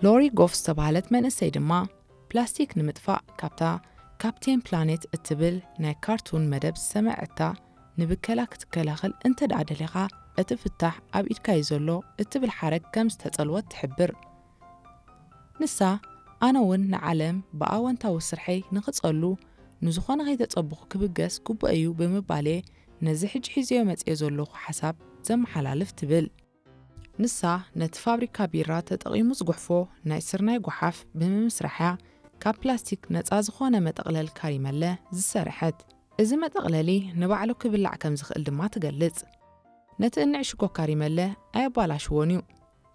ሎሪ ጎፍ ዝተባህለት መንእሰይ ድማ ፕላስቲክ ንምጥፋእ ካብታ ካፕቴን ፕላኔት እትብል ናይ ካርቱን መደብ ዝሰምዐታ፣ ንብከላ ክትከላኸል እንተ ደኣ ደሊኻ እቲ ፍታሕ ኣብ ኢድካ እዩ ዘሎ እትብል ሓረግ ከም ዝተጸልወት ትሕብር። ንሳ፣ ኣነ እውን ንዓለም ብኣወንታዊ ስርሐይ ንኽጸሉ፣ ንዝኾነ ከይተጸበኹ ክብገስ ግቡእ እዩ ብምባል እየ ነዚ ሕጂ ሒዘዮ መጽየ ዘለኹ ሓሳብ ዘመሓላልፍ ትብል። ንሳ ነቲ ፋብሪካ ቢራ ተጠቒሙ ዝጉሕፎ ናይ ስርናይ ጓሓፍ ብምምስራሕ እያ ካብ ፕላስቲክ ነጻ ዝኾነ መጠቕለል ካሪመለ ዝሰርሐት። እዚ መጠቕለሊ ንባዕሉ ክብላዕ ከም ዝኽእል ድማ ትገልጽ። ነቲ እንዕሽጎ ካሪመለ ኣየባላሽዎን እዩ።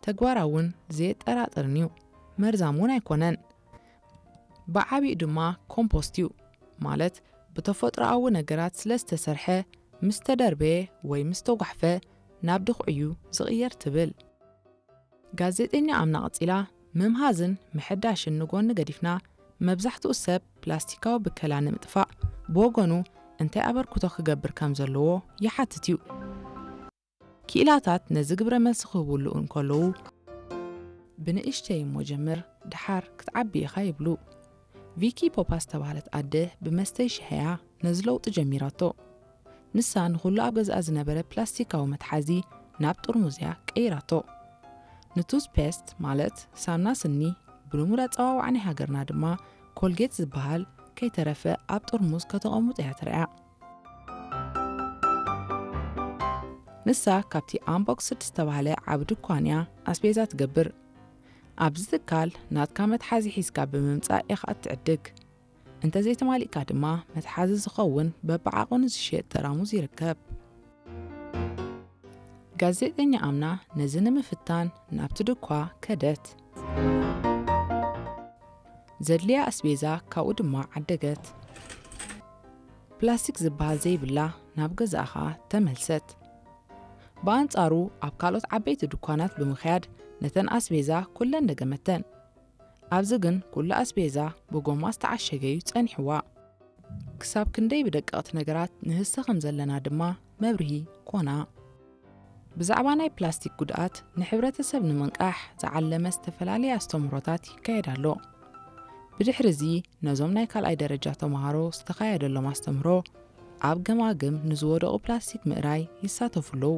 ተግባራውን ዘየጠራጥርን እዩ። መርዛም እውን ኣይኮነን። ብዓቢኡ ድማ ኮምፖስት እዩ። ማለት ብተፈጥሮኣዊ ነገራት ስለ ዝተሰርሐ ምስ ተደርበየ ወይ ምስ ተጓሕፈ ናብ ድኹዒ እዩ ዝቕየር ትብል። ጋዜጠኛ ኣምና ቀጺላ ምምሃዝን ምሕዳሽን ንጎኒ ገዲፍና መብዛሕትኡ ሰብ ፕላስቲካዊ ብከላ ንምጥፋእ ብወገኑ እንታይ ኣበርክቶ ክገብር ከም ዘለዎ ይሓትት እዩ። ክኢላታት ነዚ ግብረ መልሲ ክህብሉ እንከለዉ ብንእሽተይ እሞ ጀምር፣ ድሓር ክትዓቢ ኢኻ ይብሉ። ቪኪ ፖፓ ዝተባህለት ኣደ ብመስተይ ሻሂ እያ ነዚ ለውጢ ጀሚራቶ። ንሳ ንኹሉ ኣብ ገዝኣ ዝነበረ ፕላስቲካዊ መትሓዚ ናብ ጥርሙዝ እያ ቀይራቶ። ንቱዝ ፔስት ማለት ሳምና ስኒ፣ ብልሙድ ኣጸዋውዓ ናይ ሃገርና ድማ ኮልጌት ዝበሃል ከይተረፈ ኣብ ጥርሙዝ ከተቐምጦ እያ ትርኣ። ንሳ ካብቲ ኣምቦክስድ ዝተባህለ ዓቢ ድኳን እያ ኣስቤዛ ትገብር። ኣብዚ ትካል ናትካ መትሓዚ ሒዝካ ብምምጻእ ኢኻ እትዕድግ። እንተ ዘይተማሊእካ ድማ መትሓዚ ዝኸውን በብዓቐኑ ዝሽየጥ ጠራሙዝ ይርከብ። ጋዜጠኛ ኣምና ነዚ ንምፍታን ናብቲ ድኳ ከደት። ዘድልያ ኣስቤዛ ካብኡ ድማ ዓደገት። ፕላስቲክ ዝበሃል ዘይብላ ናብ ገዛኣ ኸኣ ተመልሰት። ብኣንጻሩ ኣብ ካልኦት ዓበይቲ ድኳናት ብምኽያድ ነተን ኣስቤዛ ኩለን ደገመተን። ኣብዚ ግን ኩሉ ኣስቤዛ ብጎማ ዝተዓሸገ እዩ ጸኒሕዋ። ክሳብ ክንደይ ብደቀቕቲ ነገራት ንህሰ ከም ዘለና ድማ መብርሂ ኮና። ብዛዕባ ናይ ፕላስቲክ ጉድኣት ንሕብረተሰብ ንምንቃሕ ዝዓለመ ዝተፈላለየ ኣስተምህሮታት ይካየድ ኣሎ። ብድሕሪ እዚ ነዞም ናይ ካልኣይ ደረጃ ተምሃሮ ዝተኻየደሎም ኣስተምህሮ ኣብ ገማግም ንዝወደቑ ፕላስቲክ ምእራይ ይሳተፉ ኣለዉ።